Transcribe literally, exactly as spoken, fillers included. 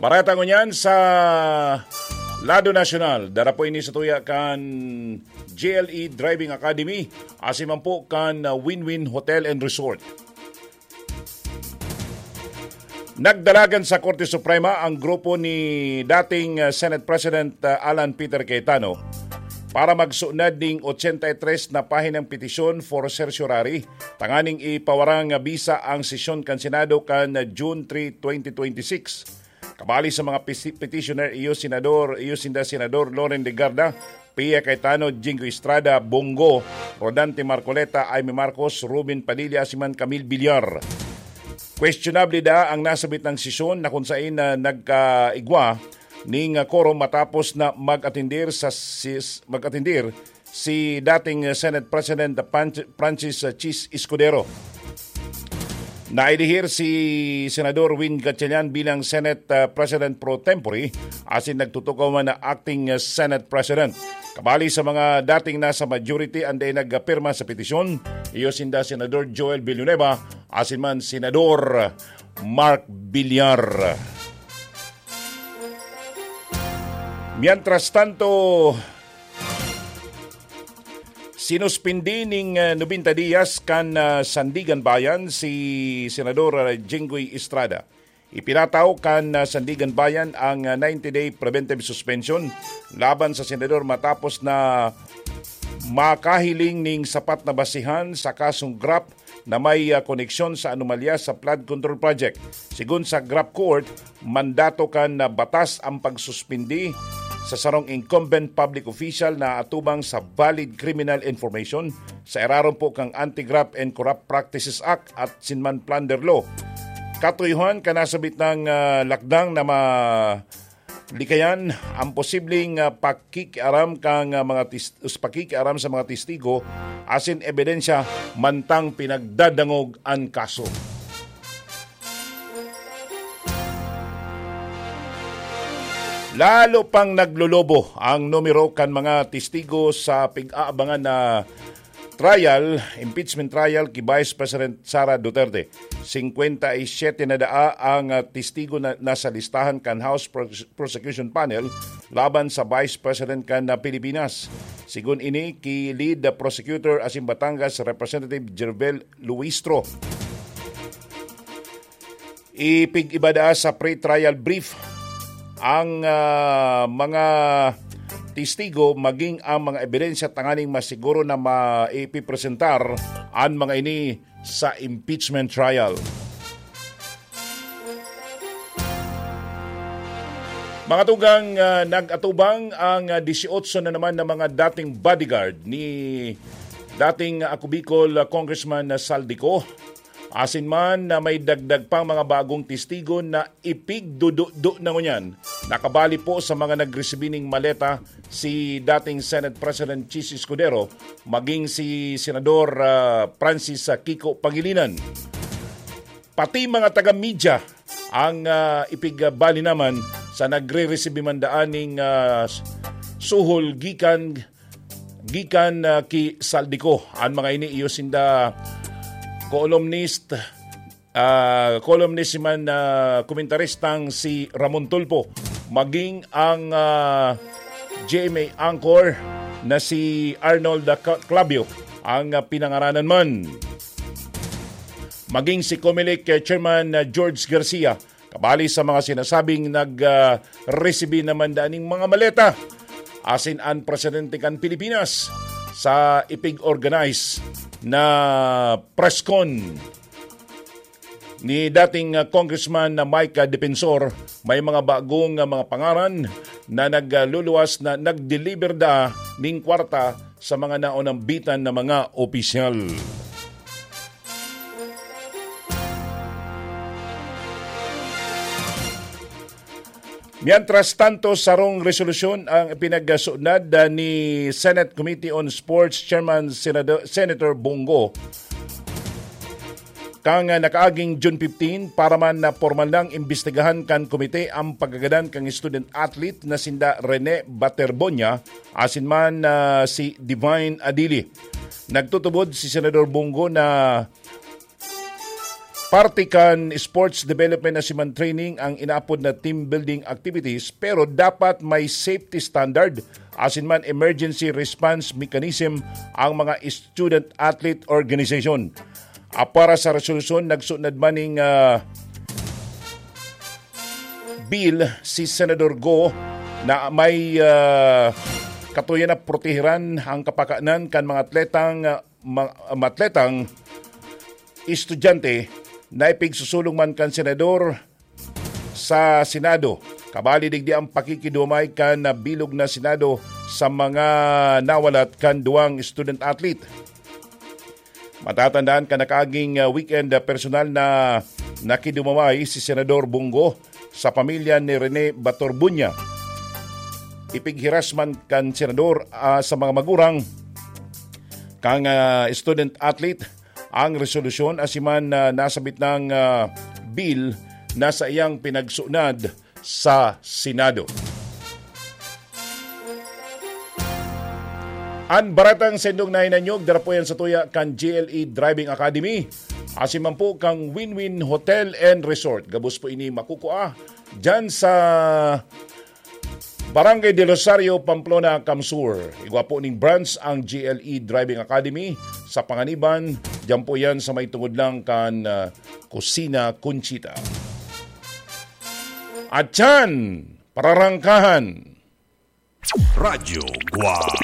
Pareha ta ngunyan sa lado nasyonal, dara po ini sa tuya kan J L E Driving Academy, asin man po kan, ah, Win-Win Hotel and Resort. Nagdalagan sa Korte Suprema ang grupo ni dating, ah, Senate President, ah, Alan Peter Cayetano para magsunad ning ochenta y tres na pahinang petisyon for certiorari tanganing ipawarang bisa ang sesyon kan Senado kan June three, twenty twenty-six. Kabali sa mga pisi-, petitioner, iyo Senador, iyo sinda Senador Loren Legarda, Pia Cayetano, Jinggoy Estrada, Bong Go, Rodante Marcoleta, Imee Marcos, Robin Padilla, asin man Camille Villar. Questionable daa ang nasabit na sesyon na kung sain na nagkaigwa ning, ah, quorum matapos na mag-atendir sa sis-, mag-atendir si dating Senate President Pan-, Francis, uh, Chiz Escudero. Naidihir si Senador Win Gatchalian bilang Senate, uh, President pro tempore, asin nagtutukaw man na acting, uh, Senate President. Kabali sa mga dating nasa majority an dai nagpirma sa petisyon, iyo sinda Senador Joel Villanueva asin man Senador Mark Villar. Mientras tanto, sinuspindi ning, ah, nobenta diyas kan, ah, Sandigan Bayan si Senador, ah, Jinggoy Estrada. Ipinataw kan, ah, Sandigan Bayan ang, ah, ninety-day preventive suspension laban sa senador matapos na makahiling ning sapat na basihan sa kasong graft na may, ah, koneksyon sa anomalya sa flood control project. Sigon sa graft court, mandato kan, ah, batas ang pagsuspindi sa sarong incumbent public official na atubang sa valid criminal information sa irarom po kan Anti-Graft and Corrupt Practices Act asin man Plunder Law. Katuyohan kan nasabit na, ah, lakdang na ma-, likayan ang posibleng, ah, pakikiaram kan, ah, mga tis-, pakikiaram sa mga testigo asin ebidensya mantang pinagdadangog an kaso. Lalo pang naglolobo ang numero kan mga testigo sa pig-aabangan na trial, impeachment trial ki Vice President Sara Duterte. Singkwenta y siyete na daa ang, ah, testigo na nasa listahan kan House Pros-, Prosecution Panel laban sa Vice President kan, ah, Pilipinas. Sigon ini ki Lead Prosecutor asin Batangas Representative Jervel Luistro. Ipig-iba daa sa pre-trial brief ang, ah, mga testigo maging ang mga ebidensya tanganing masiguro na maipipresentar an mga ini sa impeachment trial. Mga tugang, ah, nag-atubang ang, ah, dieciocho na naman na mga dating bodyguard ni dating, ah, Ako Bicol, ah, Congressman, ah, Saldico. Asin man na may dagdag pang mga bagong testigo na ipigdududo na ngunyan. Nakabali po sa mga nagresibi ning maleta si dating Senate President Chiz Escudero, maging si Senador, ah, Francis, ah, Kiko Pangilinan. Pati mga taga-media ang, ah, ipigbali naman sa nagre-resibi man daan ning, ah, suhol gikan, gikan, ah, ki Saldico. An mga ini iyo sinda columnist, ah, columnist man, ah, komentaristang si Ramon Tulfo, maging ang, ah, G M A anchor na si Arnold Ca-, Clabio ang, ah, pinangaranan man. Maging si Comelec, eh, Chairman, ah, George Garcia, kabali sa mga sinasabing nag, ah, resibi naman daan ning mga maleta asin an presidente kan Pilipinas sa ipig-organize na press con ni dating, ah, Congressman na Mike, ah, Defensor, may mga bagong, ah, mga pangaran na nagluluwas na nag-deliver da ning kwarta sa mga naunambitan na mga opisyal. Mientras tanto, sarong resolusyon ang ipinagsunod, ah, ni Senate Committee on Sports Chairman Senado-, Senator Bong Go kan, ah, nakaaging June fifteen para man na pormal nang imbestigahan kan komite ang pagkagadan kan student athlete na sinda Rene Baterbonia asin man, ah, si Divine Adili. Nagtutubod si Senador Bong Go na parte kan sports development na siman training ang inaapod na team building activities, pero dapat may safety standard asin man emergency response mechanism ang mga student athlete organization. Ah, para sa resolusyon, nagsunod man ning, ah, bill si Senador Go na may, ah, katuyan na protehiran ang kapakanan kan mga atletang, ah, ma-, mga atletang estudyante na ipigsusulong man kan Senador sa Senado. Kabali digdi ang pakikidumay kan bilog na Senado sa mga nawalat kan duwang student athlete. Matatandaan kan nakaaging, ah, weekend, ah, personal na nakidumaway si Senador Bong Go sa pamilya ni Rene Batorbunya. Ipighiras man kan Senador, ah, sa mga magurang kan, ah, student athlete ang resolusyon asin man, ah, nasabit nang, ah, bill na saiyang pinagsunad sa Senado. An baratang sendong nahinanyog, dara po yan sa tuya kan G L E Driving Academy. Asin man po kang Win-Win Hotel and Resort. Gabos po ini makukua dyan sa Barangay del Rosario, Pamplona, Camsur. Igwa po ning branch ang G L E Driving Academy sa Panganiban. Diyan po yan sa may tungod lang kan, ah, Kusina Conchita. At yan, pararangkahan. Radyo Guwang.